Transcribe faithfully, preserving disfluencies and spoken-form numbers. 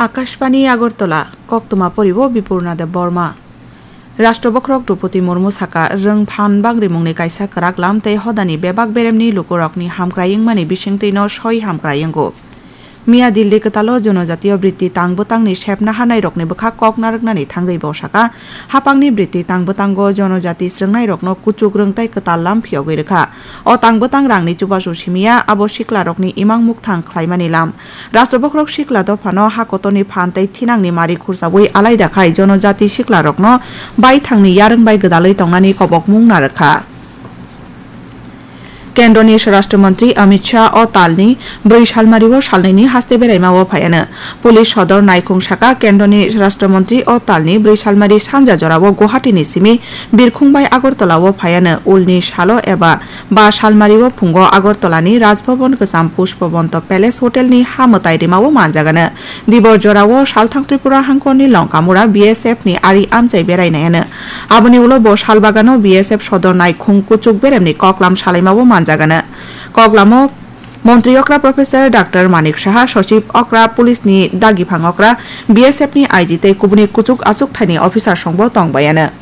Akashbani Agartala, koktwma poribo Bipurna Debbarma. Rashtra Bokhorok Droupadi Murmu saka, rwng phan bangrimungni kaisa kwrak lam tei hodani bebak beremni lukurokni hamkrai wngmani bisingtwino soi hamkrai wngo. Miya Delhi kwtalo Jonojatiyo Britti tang bwtangni sepna hanairokni bwkha kok narwknani thangwi bo saka, hapangni Britti tang bwtango Jonojati swrwngnairokno kuchuk rwng tei kwtal lam phiyogwi rwkha. O tang bwtang rangni chubachu simiya, abo siklarokni imang mukthang khlaimani lam. Rashtra Bokhorok sikla dophano ha kotorni phan tei thinangni mari khursawi alaida khai Jonojati siklarokno baithangni yarwng bai gwdalwi tongnani kobokmung narwkha. Kendroni Swarashtra Mantri Amit Shah o talni bwrwi salmario salnwini haste beraima o phaiano. Police sodor naikhung saka Kendroni Swarashtra Mantri o talni bwrwi salmari sanja jorao Guwahati ni simi birkhung bai Agartala o phaiano ulni salo eba ba salmario phungo Agartala ni Rajbhavan Kwcham Pushpabanta Palace Hotel ni ha mwtai rima o manjagano. Dibor jorao salthang Tripura hangkorni Longkamura B S F ni ari amchai berainaiano. Aboni ulo bo salbagano B S F sodor naikhung kuchuk beremni koklam salaimao manjagano. Koklamo Montri okra Professor Doctor Manik Saha, Sochib okra, Police ni dagiphang okra, B S F ni I G tei kubuni kuchuk achuk thaini officer songbo tongbayano.